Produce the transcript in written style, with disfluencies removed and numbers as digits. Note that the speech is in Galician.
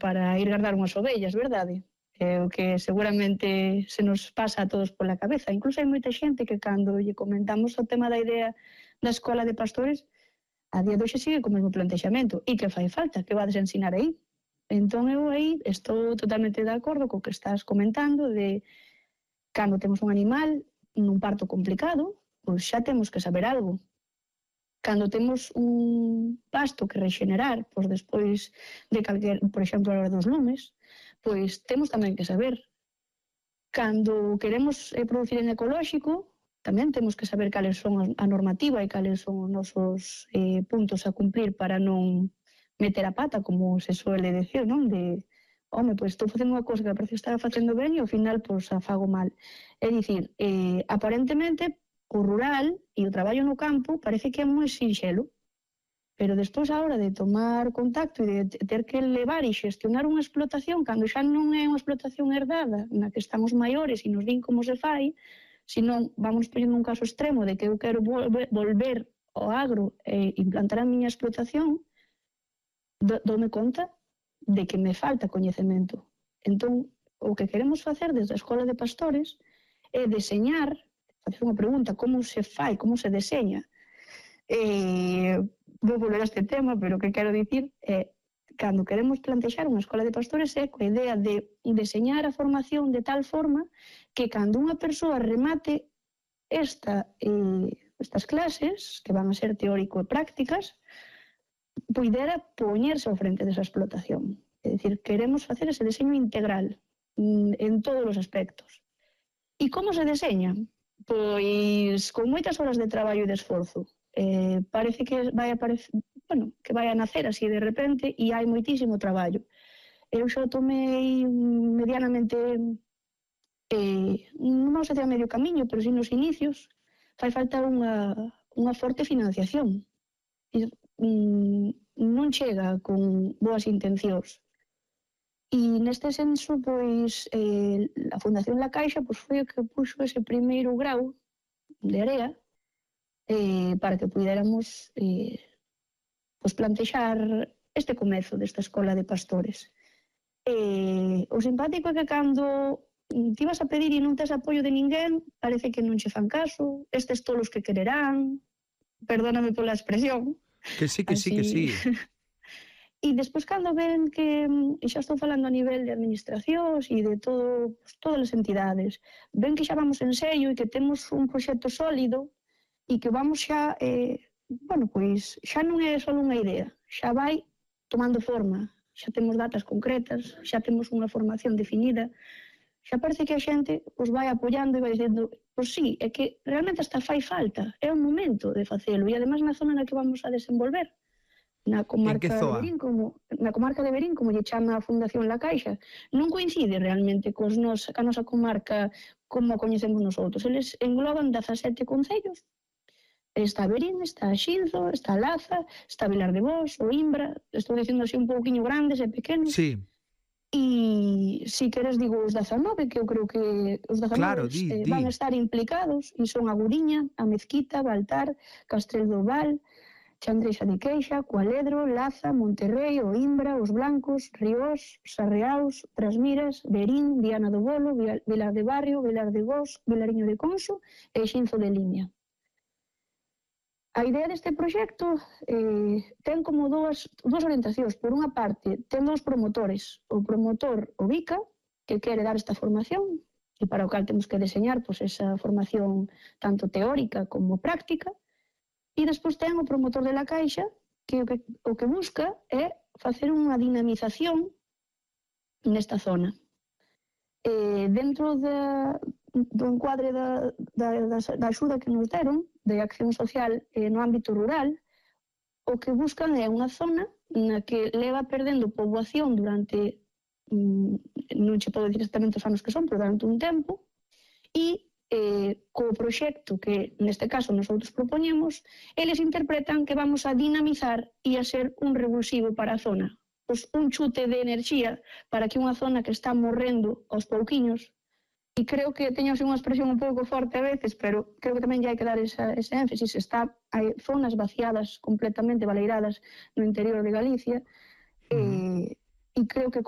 para ir guardar unhas ovellas, verdade? O que seguramente se nos pasa a todos pola cabeza. Incluso hai moita xente que cando lle comentamos o tema da idea da escola de pastores, a día de hoxe sigue co mesmo plantexamento. E que fai falta? Que vades a ensinar aí? Entón eu aí estou totalmente de acordo co que estás comentando de cando temos un animal nun parto complicado, pois xa temos que saber algo. Cando temos un pasto que rexenerar, pois despois de calquer, por exemplo, a hora dos lumes, pois temos tamén que saber. Cando queremos producir en ecolóxico, tamén temos que saber cales son a normativa e cales son os nosos puntos a cumplir para non meter a pata, como se suele decir, non? De, home, pois estou facendo unha cousa que parece estar facendo ben e ao final, pois, a fago mal. É dicir, aparentemente, o rural e o traballo no campo parece que é moi sinxelo, pero despois a hora de tomar contacto e de ter que levar e xestionar unha explotación, cando xa non é unha explotación herdada, na que estamos maiores e nos din como se fai, senón vamos poñendo un caso extremo de que eu quero volver ao agro e implantar a miña explotación, dome conta de que me falta coñecemento. Entón, o que queremos facer desde a Escola de Pastores é deseñar, facer unha pregunta, como se fai, como se deseña. Vou volver a este tema, pero o que quero dicir é cando queremos plantexar unha escola de pastores é coa idea de deseñar a formación de tal forma que cando unha persoa remate estas clases, que van a ser teórico e prácticas, puidera poñerse ao frente desa explotación. É dicir, queremos facer ese deseño integral en todos os aspectos. E como se deseña? Pois con moitas horas de traballo e de esforzo. Parece que vai a nacer así de repente e hai moitísimo traballo. Eu xa tomei medianamente, non vamos a ter a medio camiño, pero si nos inicios fai falta unha forte financiación. Non chega con boas intencións. E neste senso, pois, a Fundación La Caixa foi o que puxo ese primeiro grau de area para que puidéramos plantexar este comezo desta escola de pastores. O simpático é que cando ti vas a pedir e non tes apoio de ninguén, parece que non che fan caso, estes tolos que quererán, perdóname pola expresión. Que sí. E despois cando ven que, e xa estou falando a nivel de administracións e de todas as entidades, ven que xa vamos en serio e que temos un proxecto sólido e que vamos xa, pois xa non é só unha idea, xa vai tomando forma, xa temos datas concretas, xa temos unha formación definida, xa parece que a xente pois vai apoiando e vai dicendo, pois sí, é que realmente hasta fai falta, é un momento de facelo, e ademais na zona na que vamos a desenvolver, na comarca de Verín, como lle chama a Fundación La Caixa, non coincide realmente ca nosa comarca como a coñecemos nosotros. Eles engloban 17 concellos. Está Verín, está Xinzo, está Laza, está Vilar de Bos, o Imbra, estou dicindo así un pouquiño grandes e pequenos. Sí. E si queres digo os 19, que eu creo que os 19 van a estar implicados, e son a Guriña, a Mezquita, Baltar, Castrel do Val, Chandreixa de Queixa, Cualedro, Laza, Monterrei, o Imbra, os Blancos, Riós, Sarreaus, Trasmiras, Verín, Viana do Bolo, Vilar de Barrio, Vilar de Bos, Vilariño de Conso e Xinzo de Limia. A idea deste proxecto ten como dúas orientacións. Por unha parte, ten dous promotores. O promotor, o BICA, que quere dar esta formación, e para o cal temos que deseñar esa formación tanto teórica como práctica. E despois ten o promotor de La Caixa, que o que busca é facer unha dinamización nesta zona. Dentro do encuadre da axuda que nos deron, de acción social no ámbito rural, o que buscan é unha zona na que leva perdendo poboación durante, non che podo dicir exactamente os anos que son, pero durante un tempo, e co proxecto que neste caso nosotros propoñemos, eles interpretan que vamos a dinamizar e a ser un revulsivo para a zona. Pois un chute de enerxía para que unha zona que está morrendo aos pouquiños, e creo que teño así unha expresión un pouco forte a veces, pero creo que tamén hai que dar ese énfasis, hai zonas vaciadas completamente baleiradas no interior de Galicia, e creo que